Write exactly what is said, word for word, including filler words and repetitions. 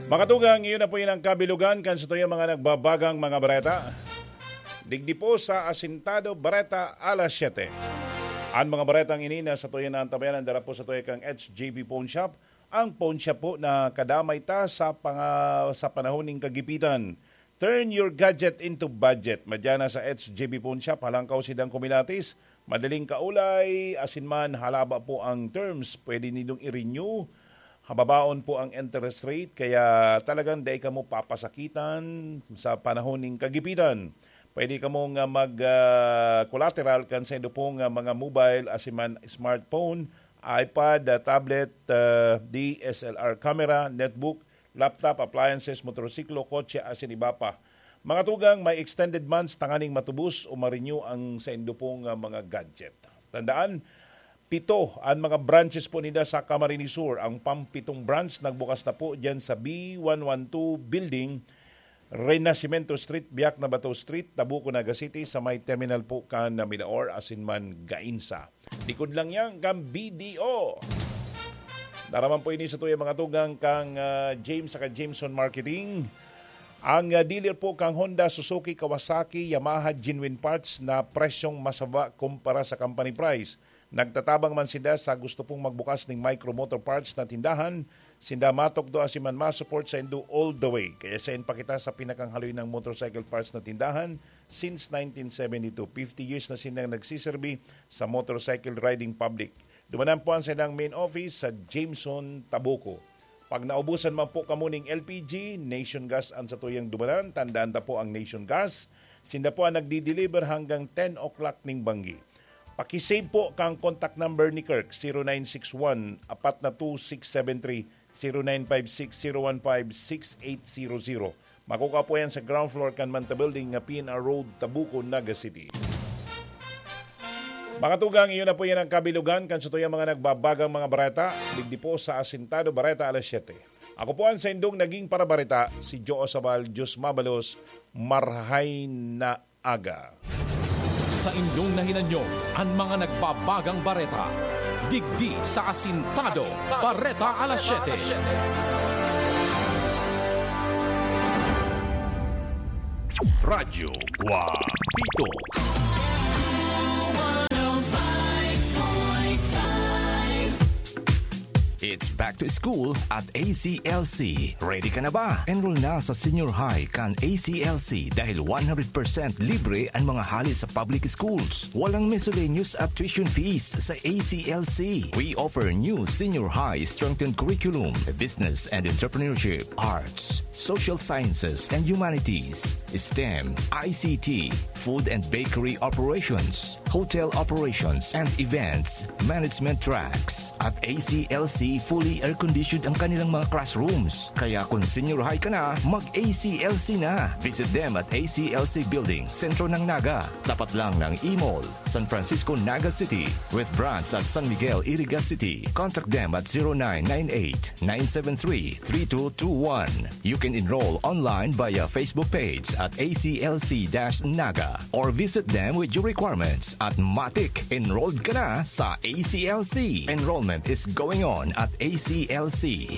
Mga tugang, iyon na po yun ang kabilugan kan sa tuyang mga nagbabagang mga bareta. Digdi po sa Asintado Bareta alas siyete. Ang mga baretang ini na sa tuyang naantabayanan dara po sa tuyang kang H J B Pawn Shop. Ang pawn shop po na kadamay ta sa panga-, sa panahon ning kagipitan. Turn your gadget into budget. Madya na sa H J B Pawn Shop, halangkaw sidang kumilatis, madaling kaulay, asin man halaba po ang terms. Pwede nindong i-renew, hababaon po ang interest rate, kaya talagang dai kamo papasakitan sa panahon ning kagipitan. Pwede kamo nga mag, ah, collateral kan saindo pong, ah, mga mobile asin man smartphone, iPad, ah, tablet, ah, D S L R camera, netbook, laptop, appliances, motorsiklo, kotse, asin iba pa. Mga tugang, may extended months tanganing matubos o ma-renew ang saindo pong, ah, mga gadget. Tandaan, pito an mga branches po ninda sa Camarines Sur. Ang pampitong branch nagbukas na po diyan sa B one one two Building, Renacimiento Street, Biak na Bato Street, Tabuco, Naga City, sa may terminal po kan Milaor asin man Gainsa. Likod lang yan kan B D O. Dara man po ini sa tuyang mga tugang kang, ah, James saka Jameson Marketing. Ang, ah, dealer po kang Honda, Suzuki, Kawasaki, Yamaha, genuine parts na presyong masaba kumpara sa company price. Nagtatabang man sinda sa gusto pong magbukas ning micro motor parts na tindahan, sinda matukdo asin man ma-support saindo all the way. Kaya sain pa kita sa pinakang haloy ng motorcycle parts na tindahan since nineteen seventy-two. Fifty years na sindang nagsiserbi sa motorcycle riding public. Dumanan po ang saindang main office sa Jameson, Tabuco. Pag naubusan man po kamo ning L P G, Nation Gas ang satuyang dumanan. Tandaan ta po ang Nation Gas. Sinda po ang nagdi-deliver hanggang ten o'clock ning banggi. Paki-save po kang contact number ni Kirk, zero nine six one, apat na two six seven three, zero nine five six, zero one five, six eight zero zero. Makukuha po yan sa ground floor kan Manta Building nga P N R Road, Tabuco, Naga City. Mga tugang, iyon na po yan ang kabilugan kan satuyang mga nagbabagang mga bareta, digdi po sa Asintado Bareta alas siyete. Ako po ang saindong naging parabareta, si Joe Sabal, Diyos mabalos, marhay na aga. Sa indong nahinanyo, an mga nagbabagang bareta, digdi sa Asintado, Bareta alas siyete. Radyo Guapito. It's back to school at A C L C. Ready ka na ba? Enroll na sa senior high kan A C L C dahil one hundred percent libre ang mga hali sa public schools. Walang miscellaneous at tuition fees sa A C L C. We offer new senior high strengthened curriculum, business and entrepreneurship, arts, social sciences and humanities, STEM, I C T, food and bakery operations, hotel operations and events management tracks. At A C L C, fully air-conditioned ang kanilang mga classrooms. Kaya kung senior high ka na, mag-A C L C na. Visit them at A C L C Building, Sentro ng Naga, tapat lang ng E-Mall, San Francisco, Naga City, with branch at San Miguel, Iriga City. Contact them at zero nine nine eight, nine seven three, three two two one. You can enroll online via Facebook page at A C L C dash Naga or visit them with your requirements at matik, enrolled ka na sa A C L C. Enrollment is going on at A C L C.